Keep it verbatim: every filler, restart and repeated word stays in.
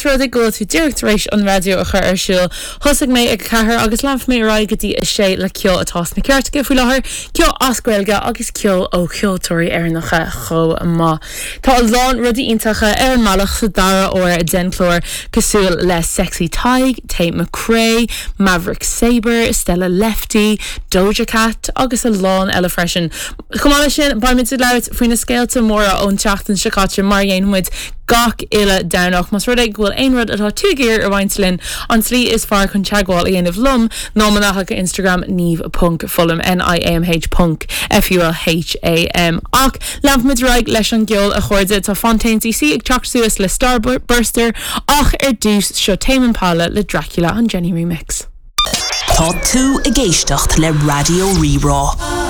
Rud go bhfuil tú díreach tar éis an raidió a chur ar siúl. Thosaigh mé ag ceathair agus leanfaidh mé ar aghaidh go dtí a sé le ceol atá sna cairteacha faoi láthair, ceol as Gaeilge agus ceol ó cheoltóirí Éireannacha chomh maith. Tá a lán rudaí iontacha ar an mbealach sa dara huair den chlár cosúil le Sexy Tadhg, Tate McRae, Maverick Sabre, Stella Lefty, Doja Cat agus a lán eile freisin. Chomh maith leis sin beimid ag labhairt faoi na scéalta móra ón tseachtain seo caite mar a dhéanaimid gach uile Domhnach Más rud é go bhfuil aon rud atá tú ag iarraidh a roinnt linn an tslí is fearr chun teagmháil a dhéanamh liom ná mo natha Instagram niamh.fulham N-I-A-M-H ponc F-U-L-H-A-M ach leanfaimid ar aghaidh leis an gceol a chairde tá Fontaines DC ag teacht suas le Starburster ach ar dtús seo Tame Impala le Dracula an Jenny Remix. Tá tú ag éisteacht le Raidió Rí-Rá.